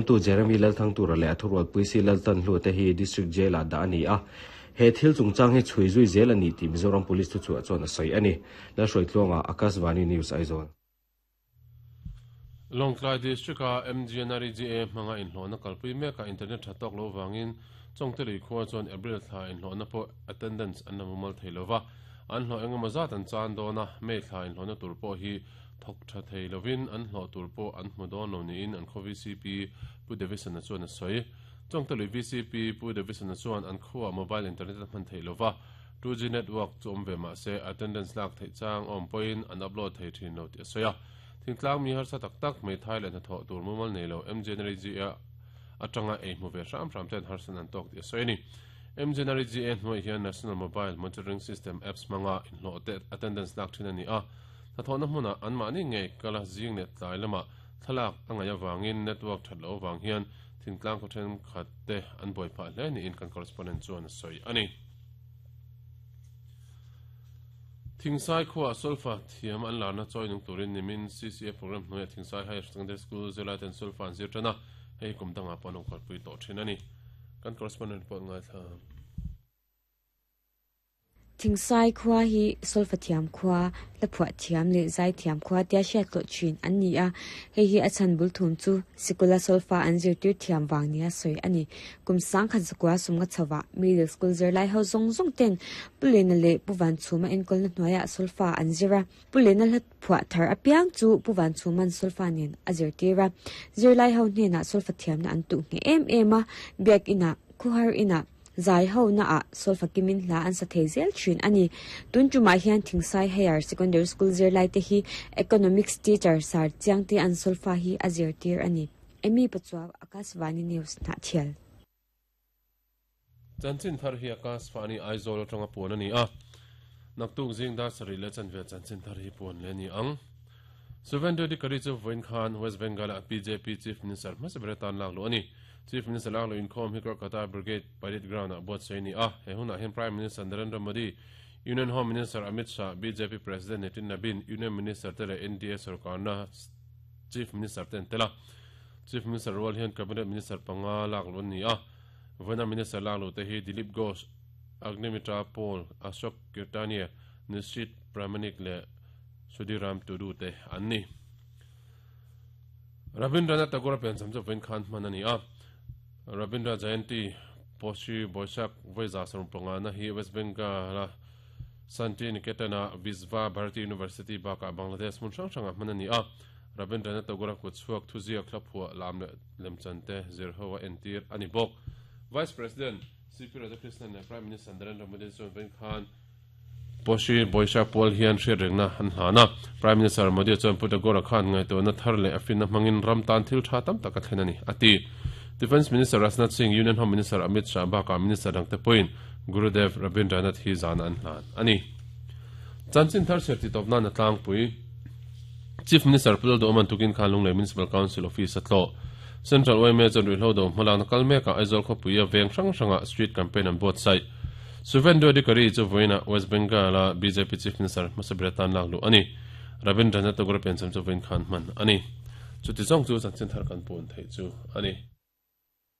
Tu Jeremy Lalthangtura leh a thurualpui Si Laltanhlua te hi District Jail-ah dah a ni a, he thil chungchang hi chhui zui zel a ni tih Mizoram Police thuchhuah chuan a sawi a ni. Lalhruaitluanga, Akashvani News, Aizawl. Lawngtlai District-a MGNREGA hmanga inhlawhna kalpui mekah internet tha tawk lo vangin Chawngtelui khua chuan April thla inhlawhna pawh attendance an la mumal thei lova, an hlawh engemaw zat an chan dawn a, May thla inhlawhna tur pawh hi thawk tha thei lovin an hlawh tur pawh an hmu dawn lo niin an khaw VCP Pu Davidson-a chuan a sawi. Chawngtelui VCP Pu Davidson-a chuan an khuaah mobile internet a hman theih lova, 2G network chu awm ve mah se attendance lak theih chang a awm pawhin an upload thei thin lo tih a sawi a. Thingtlang mi harsa tak tak hmeithai leh hnathawh tur mumal nei lo MGNREGA atanga ei hmu ve hram hram ten harsan an tawk tih a sawi a ni. MGNREGA hnuaih hian National Mobile Monitoring System apps hmanga inhlawh te attendance lak thin a ni a. Hnathawhna hmunah anmahni ngei kala zing leh tlai lamah thlalak a ngaih avangin network that loh avang hian thingtlang khaw thenkhat te an buai phah hle niin kan correspondent chuan a sawi a ni. Thingsai khuaah solfa thiam an larna chawi nung turin nimin CCA program hnuaiah Thingsai Higher Secondary School zirlaiten solfa an zir tan a, hei kum dangah pawh an awm kalpui tawh thin a ni. Kan correspondent pawh an ngaithla. Thingsai khua hi solfa thiam khua, hlaphuah thiam leh zai thiam khua tia hriat hlawh thin an ni a, hei hi a chhan bul thum chu sikula solfa an zirtir thiam vang nia sawi a ni. Kum sangkhat zakua sumnga chhovah middle school zirlai ho zawng zawng ten Pu Lena leh Pu Vanchhuma enkawlna hnuaiah solfa an zir a, Pu Lena hlaphuah thar apiang chu Pu Vanchhuma'n solfa nen a zirtir a, zirlai ho hnenah solfa thiamna an tuh ngheh em em a, biakinah, khuhar inah, Zai ho naah solfa kimin hla an sa thei zel thin a ni. Tun tumah hian Thingsai Higher Secondary School zirlaite hi Economics teacher Sir Chiangte an solfa hi a zirtir a ni. Amy Pachuau, Akashvani News, Hnahthial. Chanchin thar hi Akashvani Aizawl atanga puan a ni a, naktuk zing dar sarih leh chanve chanchin thar hi puan leh a ni ang. Suvendu Adhikari chu vawiin khan West Bengal-a bjp Chief Minister hmasa ber atan lak luh a ni. Chief Minister lak luh inkhawm hi Kolkata Brigade Parade Ground-ah buatsaih a ni a. He hunah hian Prime Minister Narendra Modi, Union Home Minister Amit Shah, bjp President Nitin Nabin, Union Minister te leh NDA sorkarna Chief Minister te an tel a. Chief Minister rual hian Cabinet Minister panga lak luh an ni a. Vawiina Minister lak luh te hi Dilip Ghosh, Agnimitra Paul, Ashok Kirtania, Nishit Pramanik leh Sudhiram Tudu te an ni. Rabindranath Tagore piancham chu vawiin khan hman a ni a. Rabindra Jayanti Poshi Boishak vawiza sawmpangana hi West Bengal-a Santiniketan-a Visva Bharati University bakah Bangladesh hmun hrang hrangah hman a ni a. Rabindranath Tagore-a kutchhuak thuziak hlaphuah lam leh lemchan te zirho a entir a ni bawk. Vice President CP Radhakrishnan leh Prime Minister Narendra Modi chuan vawiin khan Poshi Boishak pual hian hriatrengna an hlan a, Prime Minister Modi chuan Pu Tagore khan ngaihtuahna thar leh a finna hmangin ram tan thil tha tam tak a thlen a ni, a ti. Defence Minister Rajnath Singh, Union Home Minister Amit Shah bakah Minister dangte pawhin Gurudev Rabindranath hi zana an hlan a ni. Chanchin thar chhiar titawp nan a tlangpui. Chief Minister Pu Lalduhawman tukin khan Lunglei Municipal Council Office a tlawh. Central yma chuan ruihhlo do hmalakna kal mekah Aizawl khawpuia veng hrang hrangah street campaign an buatsaih. Suvendu Adhikari chu vawiinah West Bengal-a bjp Chief Minister hmasa ber atan lak luh a ni. Rabindranath Tagore piancham chu vawiin khan hman a ni. Chuti zawng chu chanchin thar kan pun theih chu a ni.